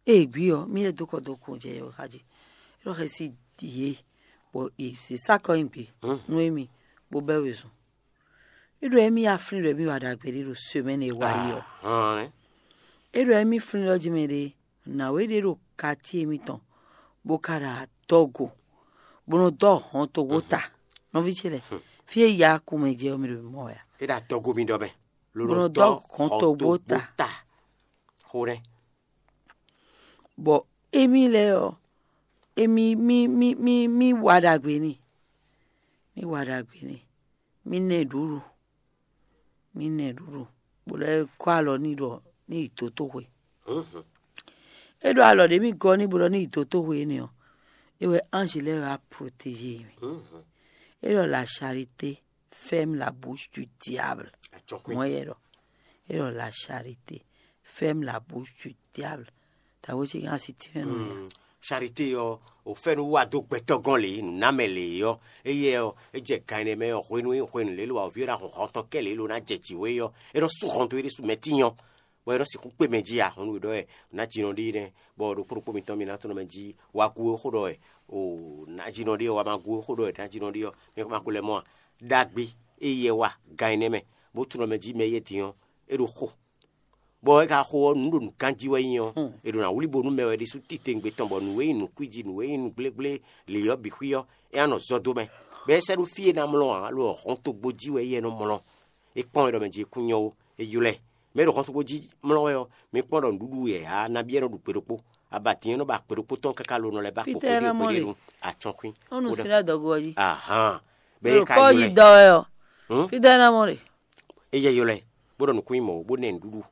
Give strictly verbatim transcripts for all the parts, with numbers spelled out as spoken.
Ée gbí ɔ́, mì lɛ́ dó kɔ dó kun jɛ yɔ̌yɔ́ xá jí. É ɖɔ xɛsi yě, bɔ è zě sá kɔ nyi gbě nú émí, bó bɛ́ wezun. É ɖɔ émí yá flín ɖɔ émí wa ɖagbe ɖé ɖo semɛ́ni e wá yi ɔ́. É ɖɔ émí flín ɖɔ jí mɛ ɖé, nǎwe ɖé ɖo katíe émítɔn, bó ka ɖo adɔgo, bó nɔ dɔ́ hɔn togbó ta. Nɔví ce lɛ́ɛ, fí e yá kun mɛ jɛ ɔ́, mi ɖo mɔ wɛ a? É ɖo adɔgo mi ɖɔ mɛ. Bó nɔ dɔ́ hɔn togbó ta. Xó ɖɛ. Bɔ émí lɛ́ɛ ɔ́, émí mí mí mí mí wa ɖagbe n'i, mí wa ɖagbe n'i, mí nɛ ɖuɖu, mí nɛ ɖuɖu, bó lɛ́ gɔ́ alɔ n'i ɖɔ ní yi dǒtoxwe. É ɖo alɔ ɖě mì gɔ́ n'i bó ɖɔ ní yi dǒtoxwe énɛ́ ɔ́, é wɛ anji lɛ́ɛ wá protéger mì. É ɖɔ la charité ferme la bouche du diable. Mɔ̌ yɛ ɖɔ, é ɖɔ la charité ferme la bouche du diable. Tawé cí gán asi tínmɛ nɔ ya. Charité ɔ́, o fɛ́nú wá dó gbɛtɔ́ gɔ́n lě, nǔnámɛ lě ɔ́, éyɛ́ ɔ́, é jɛ gan ɛnɛ mɛ ɔ́, hwenu e hwenu lě lo awǒvi ɔ́ ná hun hɔn tɔn kɛ́ lě lo ná jɛ jǐ wé ɔ́, é nɔ sú hɔn dó é ɖésú mɛ tínyɔ, bɔ é nɔ sixú kpé mɛ jí ǎ. Hɔn nú è ɖɔ wɛ nǎjínɔ ɖé nɛ́, bɔ ɖokpó ɖokpó mitɔn mi ná tunɔ mɛ jí wá gú é xó ɖɔ wɛ, o nǎjínɔ ɖé ɔ́ wá ma gú é xó ɖɔ wɛ nǎjínɔ ɖé ɔ́, mi ma ko lɛ́ mɔ a? Ɖagbe éyɛ́ wá gan ɛnɛ mɛ, bó tunɔ mɛ jí mɛ éyɛ́ din ɔ́, é ɖo xo. Bɔ é ka xo ɔ́, nǔ ɖo nǔkanjí wɛ nyí ɔ́, è ɖo ná wlí bo nú mɛ wɛ ɖésú titewungbe tɔn, bɔ nǔ e nyí nǔkwíji, nǔ e nyí nǔgblégbléli ɔ́ bǐ xwí ɔ́, é ná nɔ zɔ dó mɛ. Bɔ é sɛ́ ɖó fí e ná mlɔ́ ǎ, lo ɔ́, hɔntogbó jí wɛ éyɛ́ nɔ mlɔ́. É kpɔ́n é ɖɔ mɛ jí é kún nyɔ́ ó, é ylɔ́ ɛ. Mɛ e ɖo hɔntogbó jí mlɔ́ wɛ ɔ́, mi kpɔ́n ɖɔ nǔɖuɖu yɛ̌yá nabí é nɔ ɖu gbe ɖokpó. Abatǐn é nɔ ba gbe ɖokpó tɔn káká lo nɔ lɛ́ ba kpo kpóɖé kpóɖé nu acɔ́nkwín. Ó nu sín ɖo adɔgo ɔ́ jí. Ahán. Bɛ é ka kɔ ylɔ́ yi ɛ. Dɔ wɛ ɔ́. Fítɛ́ ná mɔ ɖe? É yɛ ylɔ́ ɛ, bó ɖɔ nǔkún nyí mɔ̌, bó ná ɛ nǔɖuɖu,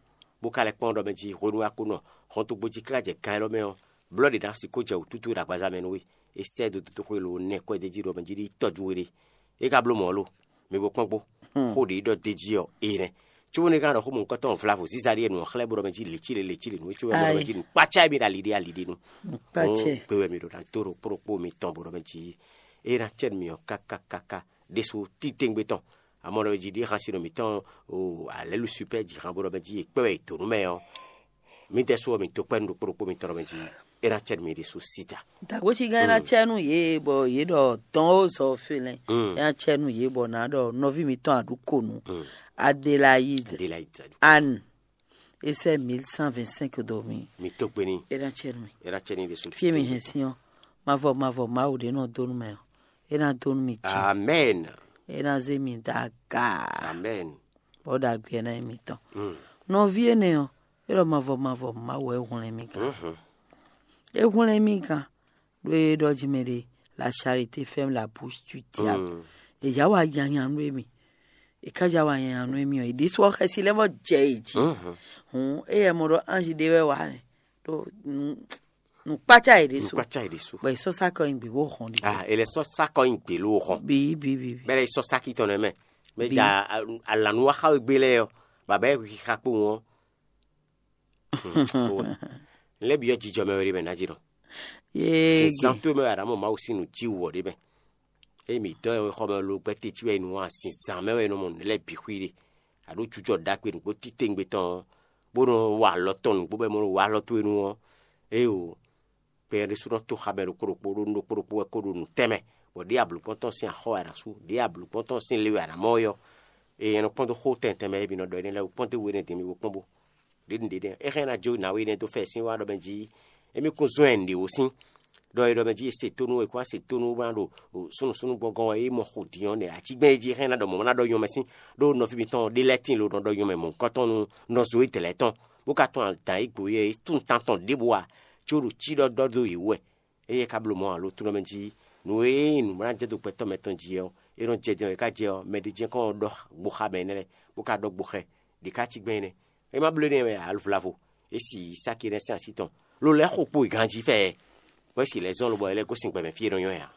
bó ka lɛ́ kpɔ́n ɖɔ mɛ jí hwenu e a ko nɔ hɔntogbó jí káká jɛ kan élɔ́ mɛ ɔ́, blɔ́ ɖě ná sixú jɛ wǔtútú ɖo agbaza mɛ nú we. É sɛ́ ɛ dó dotóxwé lo nɛ́ kɔ́ ɛ d'é jí ɖɔ mɛ jí ní tɔ́jú we ɖe. É ka bló mɔ̌ lo, mi bo kpɔ́n gbó. Xó ɖě ɖɔ d'é jí ɔ́, é nɛ́. Cóbónú é ka ɖɔ xó mɔ̌hunkɔtɔn vlavo zíza ɖíe nǔ ɔ́ xlɛ́ bó ɖɔ mɛ jí lěcíle lěcíle nǔ é cóbɔ é ɖɔ mɛ jí nǔkpácá émí ɖo ali ɖé ali ɖé nu. Nǔkpácá. Gbe wɛ mi ɖo ná dó ɖo kpóɖokpó mitɔn bó ɖɔ mɛ jí é ná cɛ nú mi ɔ́ káká káká ɖésú titewungbe tɔn. Amɔ̌ ɖɔ jí ɖíe xan sinɔ mǐtɔn o alɛ̌lu supɛ́ ji han bó ɖɔ mɛ jí è kpɛ́ wɛ è dǒ nú mɛ ɔ́, mǐdɛɛ sú ɔ́, mǐ dó kpɛ́ nú ɖokpó ɖokpó mitɔn ɖɔ mɛ jí é ná cɛ nú mi ɖésú síta. Dǎgbócígán ná cɛ nú yě bɔ yě ɖɔ dɔn ó zɔ félɛ́. É ná cɛ nú yě bɔ nǎ ɖɔ nɔví mǐtɔn aɖǔkonu Adélayide Adélayide Adou. Anne, é sɛ́ mil cent vingt cinq dó mi. Mi tó gbe ní. É ná cɛ nú mi. É ná cɛ ní ɖésú. Fí e mi hɛn sín ɔ́, mavɔ mavɔ Mawu ɖé nɔ dó nú mɛ ɔ́, é ná dó nú mi jí. Amɛn. É ná zé mi dó aga. Amɛn. Bɔ ɖagbe ná nyí mitɔn. Nɔví énɛ́ ɔ́, é ɖɔ mavɔ mavɔ Mawu wɛ é hwlɛ́n mì gán. É hwlɛ́n mì gán, ɖó é ɖɔ jí mɛ ɖé, la charité ferme la bouche du diable. È já wa nyanya nú émí. È ká já wa nyanya nú émí ɔ́, è ɖésú ɔ́ xɛsi lɛ́ vɔ jɛ è jí. Hǔn éyɛ́ mɔ ɖɔ anji ɖé wɛ wá nɛ́, ɖó nǔkpácá è ɖésú. Nǔkpácá è ɖésú. Bɔ è sɔ́ sá kɔ nyi gbě bó hɔn ɖi. Ah, è lɛ́ sɔ́ sá kɔ nyi gbě ló hɔn. Bǐ bǐ bǐ bǐ. Bɛ́ lɛ́ sɔ́ sáki tɔn nɛ́ mɛ. Mɛ ja alǎnúwaxawégbé lɛ́ɛ ɔ́, bǎbá ɛ xixá kpowun ɔ́. Lɛ́ byɔ́ jijɔ mɛ wɛ ɖé mɛ ná jí nɔ. Yéé. Sísán tó mɛ wɛ Aɖǎmɔ Mawu sín nǔ cí wɔ ɖé mɛ. Ényí mǐ dɔ́ ɛ xɔ mɛ lo gbɛ́ teti wɛ è nɔ wa zǐnzán mɛ wɛ è nɔ mɔ nǔ lɛ́ɛ bǐ xwí ɖe. Aɖó jujɔ ɖagbe nǔgbó títewungbe tɔn ɔ́, bó nɔ wa alɔ tɔn nǔgbó bɔ è mɔ nɔ wa alɔ towe nu ɔ́, éeǒ. Kpɛn ɖésú nɔ tó xa mɛ ɖokpó ɖokpó ɖó nú ɖokpó ɖokpó wɛ kó ɖo nǔ tɛnmɛ, bɔ ɖěe ablǔkpɔ́ntɔn sín axɔ́ wɛ a nǎ sú, ɖěe ablǔkpɔ́ntɔn sín le wɛ a nǎ mɔ ɔ́, eye è nɔ kpɔ́n dó xó tɛntɛn mɛ e mi nɔ ɖɔ énɛ́ lɛ́ɛ wú, kpɔ́n dó we énɛ́ din mi bo kpɔ́n bó. Ɖě nǔɖé nɛ́ é xlɛ́ ná jó nǎwe énɛ́ dó fɛ sín wá ɖɔ mɛ jí émí kún zɔ́n ɛ nǔɖé wǒ sín, ɖɔ é ɖɔ mɛ jí è se tónú, è kún wá se tónú bó ná ɖo súnnu súnnu gbɔngɔn wɛ é mɔ xo din ɔ́ nɛ́ atígbɛ́n e jí é xlɛ́ ná ɖɔ mɔ̌ ná ɖɔ nyɔ́mɛ sín, ɖó nɔví mitɔn ɖé lɛ́ɛ tíin lo nɔ ɖɔ nyɔ́mɛ mɔ̌hunkɔtɔn nú nɔ zo é dlɛ̌ tɔn, bó ka tɔn adǎn e gbo yɛ é tún tan tɔn ɖěbǔ ǎ, có ɖo cí ɖɔ ɖɔ dó yě wú wɛ. Éyɛ́ ka bló mɔ̌ ǎ lo, tlóló mɛ jí nǔ e nyí nǔ ná jɛ dó gbɛtɔ́ mɛ tɔn jí ɔ́, é nɔ jɛ din ɔ́, é ka jɛ ɔ́, mɛ ɖé jɛ́n kɔn ɖɔ gboxa mɛ énɛ́ lɛ́ɛ, bó ka ɖɔ gboxɛ ɖě ká cí gbɛn énɛ́. É má bló énɛ́ wɛ ǎ, vlavo, é si Isáki énɛ́ sín así tɔn, lo lɛ́ xo kpo ganjí fɛ, bɔ é si lɛ́ zɔ́n lobɔ é lɛ́ gosín gbɛ mɛ fí e nɔ nyɔ́ ɛ ǎ.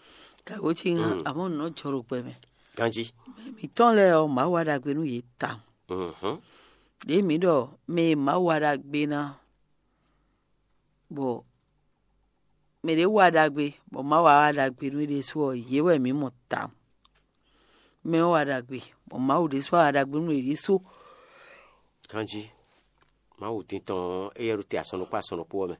Kàwé cí ŋá, àmọ́ nǔ nɔ jɔ ɖo gbɛ mɛ. Ganjí. Mɛ mǐtɔn lɛ́ɛ ɔ́, Mawu wa ɖagbe nú yě tawun. Ɖěe mǐ ɖɔ mɛ e Mawu wa ɖagbe ná, bɔ mɛ ɖě wa ɖagbe, bɔ Mawu wa wa ɖagbe nú é ɖésú ɔ́, yě wɛ mǐ mɔ tawun. Mɛ ɔ́ wa ɖagbe, bɔ Mawu ɖésú wa wa ɖagbe nú yě ɖésú. Ganjí. Mawu din tɔn ɔ́, éyɛ́ ɖo te asɔn ɖokpó asɔn ɖokpó ɔ́ mɛ.